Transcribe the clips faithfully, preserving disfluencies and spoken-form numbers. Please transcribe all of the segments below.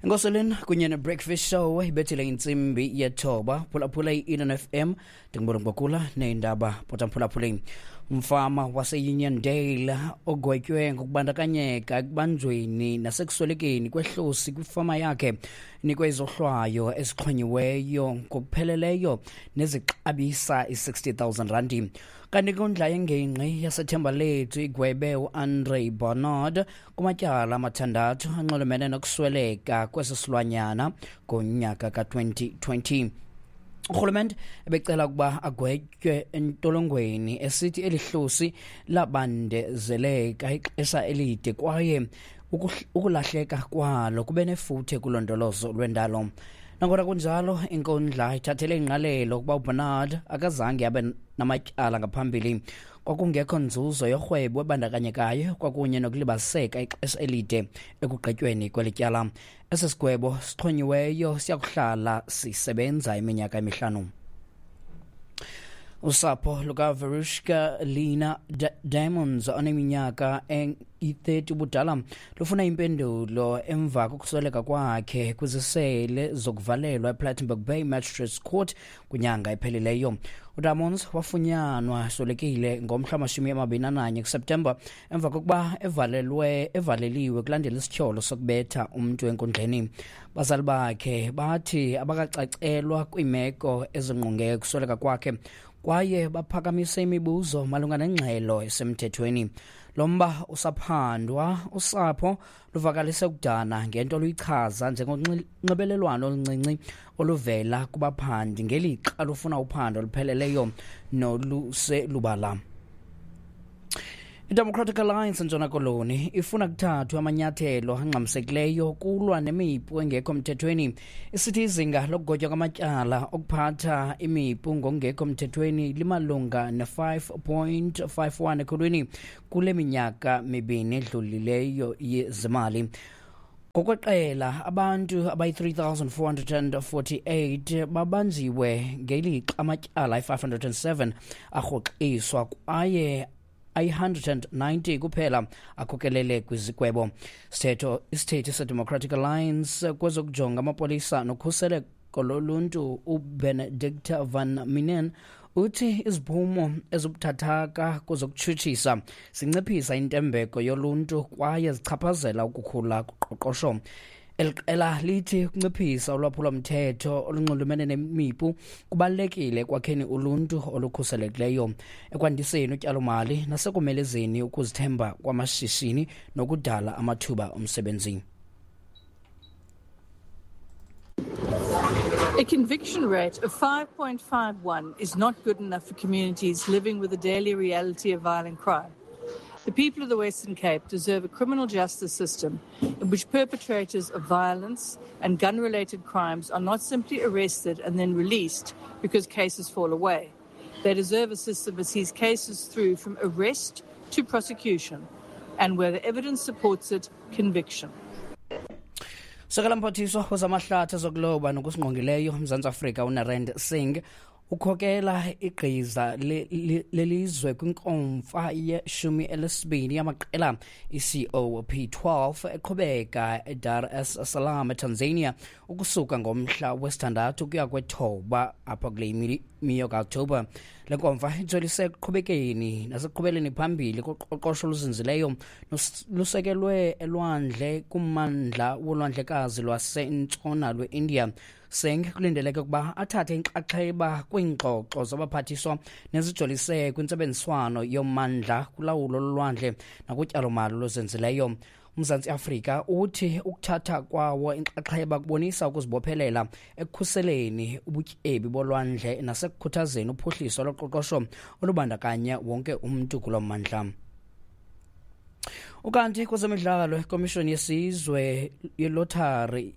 Enkoseleni kunye ne-Breakfast Show ibethile intsimbi yethoba. Phulaphula i-Eden F M, ndingubona ngokula neendaba potamphulaphuleni. Umfama wase-Uniondale ogwetywe ngokubandakanyeka ekubanjweni nasekuswelekeni kwehlosi kwifama yakhe nikwe izohlwayo ezixhonyiweyo ngokupheleleyo nezixabisa i-sixty thousand randi. Kanti inkundla yengingqi yaseThembalethu igwebe uAndre Barnard kumatyala amathandathu anxulumene nokusweleka kwesi silwanyana ngonyaka ka-twenty twenty. Urhulumente ebecela ukuba agwetywe entolongweni esithi elihlosi labandezeleka ixesha elide kwaye ukulahleka kwalo kube nefuthe kulondolozo lwendalo. Nangona kunjalo, inkundla ithathele ingqalelo ukuba uBernard akazange abe namatyala ngaphambili. Kwakungekho nzuzo yorhwebo ebandakanyekayo kwakunye nokulibaziseka ixesha elide ekugqityweni kweli tyala. Esi sigwebo sixhonyiweyo siyakuhlala sisebenza iminyaka emihlanu. Usapho lukaVerushka Lina Diamonds oneminyaka eyi-thirty ubudala lufuna impendulo emva kokusweleka kwakhe kwizisele zokuvalelwa ePlattenberg Bay Magistrates Court kwinyanga ephelileyo. uDiamonds wafunyanwa eswelekile ngomhla wamashumi amabini ananye kuSeptemba emva kokuba evalelwe evaleliwe kulandela isityholo sokubetha umntu enkundleni. Bazali bakhe bathi abakacacelwa kwiimeko ezingqonge ukusweleka kwakhe kwaye baphakamise imibuzo malunga nengxelo esemthethweni. Lo mba usaphandwa, usapho luvakalise ukudana ngento oluyichaza njengonxibelelwano oluncinci oluvela kubaphandi ngelixa lufuna uphando olupheleleyo noluselubala. I-Democratic Alliance eNtshona Koloni ifuna kuthathwe amanyathelo angxamisekileyo kulwa nemipu engekho mthethweni. Isithi izinga lokugotywa kwamatyala okuphatha imipu ngokungekho mthethweni limalunga ne-five point five one ekhulwini kule minyaka mibini edlulileyo yezimali. Ngokweqela, abantu abayi-three thousand four hundred and forty-eight babanjiwe ngelixa amatyala ayi-five hundred and seven arhoxiswa kwaye ayi-hundred and ninety kuphela akhokelele kwizigwebo. Sithetho isithethi seDemocratic Alliance kwezokujonga amapolisa nokhuseleko loluntu uBenedict van Minen uthi iziphumo ezibuthathaka kwezokutshutshisa zinciphisa intembeko yoluntu kwaye zichaphazela ukukhula koqoqosho. Eli qela lithi ukunciphisa ulwaphulomthetho olunxulumene nemipu kubalulekile ekwakheni uluntu olukhuselekileyo, ekwandiseni utyalomali nasekomelezeni ukuzithemba kwamashishini nokudala amathuba omsebenzi. A conviction rate of five point five one is not good enough for communities living with the daily reality of violent crime. The people of the Western Cape deserve a criminal justice system in which perpetrators of violence and gun-related crimes are not simply arrested and then released because cases fall away. They deserve a system that sees cases through from arrest to prosecution and, where the evidence supports it, conviction. Sekela mphathiswa wezamahlathi ezokuloba nokusingqongileyo uMzantsi Afrika uNarend Singh ukhokela igqiza lelizwe kwinkomfa yeshumi elesibini yamaqela i-C O P twelve eqhubeka eDar es Salaam eTanzania ukusuka ngomhla wesithandathu ukuya kwethoba apha kule miyo kaOktoba. Le nkomfa ijolise ekuqhubekeni nasekuqhubeleni phambili koqoqosho oluzinzileyo lusekelwe elwandle kummandla wolwandlekazi lwasentshona lwe-India. Singh kulindeleke ukuba athathe inxaxheba kwiingxoxo zabaphathiswa nezijolise kwintsebenziswano yommandla kulawulo lolwandle nakutyalomali oluzinzileyo. UMzantsi Afrika uthi ukuthatha kwawo inxaxheba kubonisa ukuzibophelela ekukhuseleni ubutyebi bolwandle nasekukhuthazeni uphuhliso loqoqosho olubandakanya wonke umntu kulo mmandla. Ukanti kwezemidlalo, ikomishoni yesizwe yelothari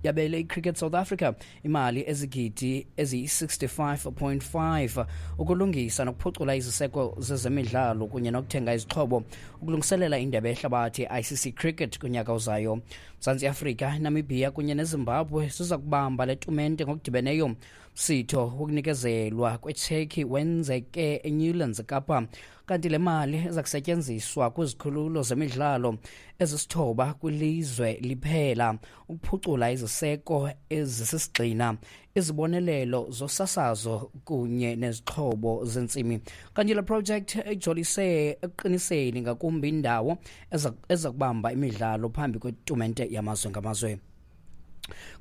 yabele iCricket South Africa imali ezigidi eziyi-sixty-five point five ukulungisa nokuphucula iziseko zezemidlalo kunye nokuthenga izixhobo ukulungiselela indebe yehlabathi I C C Cricket kunyaka ozayo. Mzantsi Afrika, Namibia kunye neZimbabwe ziza kubamba le tumente ngokudibeneyo. Msitho wokunikezelwa kwetsheki wenzeke eNewlands Kapa Kanti le mali iza kusetyenziswa kwizikhululo zemidlalo ezisithoba kwilizwe liphela ukuphucula iziseko ezisisigxina, izibonelelo zosasazo kunye nezixhobo zentsimi. Kanti le project ijolise ekuqiniseni ngakumbi indawo eza kubamba imidlalo phambi kwetumente yamazwe ngamazwe.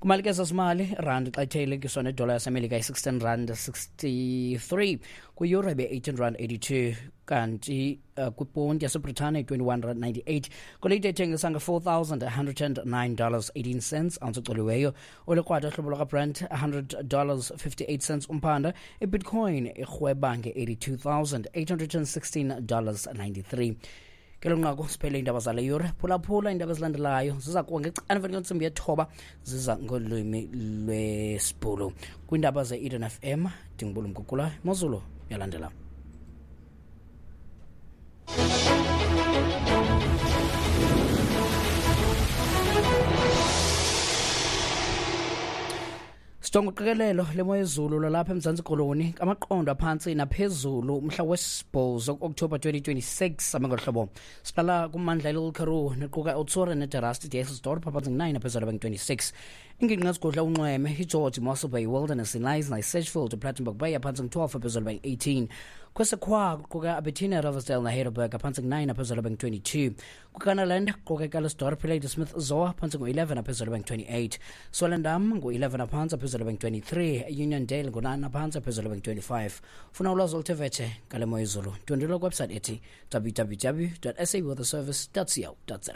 Kumalike zezimali, rand xa ithelekiswa nedola yaseMelika yi-sixteen rand sixty-three, kwi-euro ibe-eighteen rand eighty-two, kanti uh, kwiponti yaseBritane i-twenty-one rand ninety-eight. Golide ithengisa nge-four thousand one hundred and nine dollars eighteen cents ounce ecoliweyo. Olikrwada hlobo lwakaBrent one hundred dollars fifty-eight cents umphanda. Ibitcoin irhweba nge-eighty-two thousand eight hundred and sixteen dollars ninety-three. Ngelo nqaku siphele iindaba zale yure. Phulaphula iindaba ezilandelayo ziza kuwa ngecala kwentsimbi yethoba, ziza ngolwimi lwesiBhulu. Kwiindaba ze-Eden F M, ndinguBulu Mgugula. Imozulu yalandela. Sijonga uqikelelo lemo yezulu lwalapha eMzantsi Koloni, amaqondo aphantsi naphezulu umhla wesibhozo ku-Okthobha twenty twenty-six ame ngolu hlobo. Siqala kummandla iLittle Karoo nequka uTsore neDerasti, Dysselsdorp aphantsi ngu-nine aphezulu abengu-twenty-six. Ingingqi ezigudla unxweme iGeorge, Mossel Bay, Wilderness, iKnysna, iSedgefield, iPlattenberg Bay aphantsi ngu-twelve aphezulu abengu-eighteen. Kwesekhwa kuquka Abertini, Riversdale naHeidelberg aphantsi ngu-nine aphezulu abengu-twenty-two. KwiKanaland kuquka iCalliersdorp, iLadysmith, Zoar aphantsi ngu-eleven aphezulu abengu-twenty-eight. Swellendam ngu-eleven aphantsi aphezulu abengu-twenty-three. Uniondale ngu-nine aphantsi aphezulu abengu-twenty-five. Funa ulwazi oluthe vetshe ngale mo yezulu, ndwendwela kwiwebsite ethi w w w dot s a weather service dot co dot za.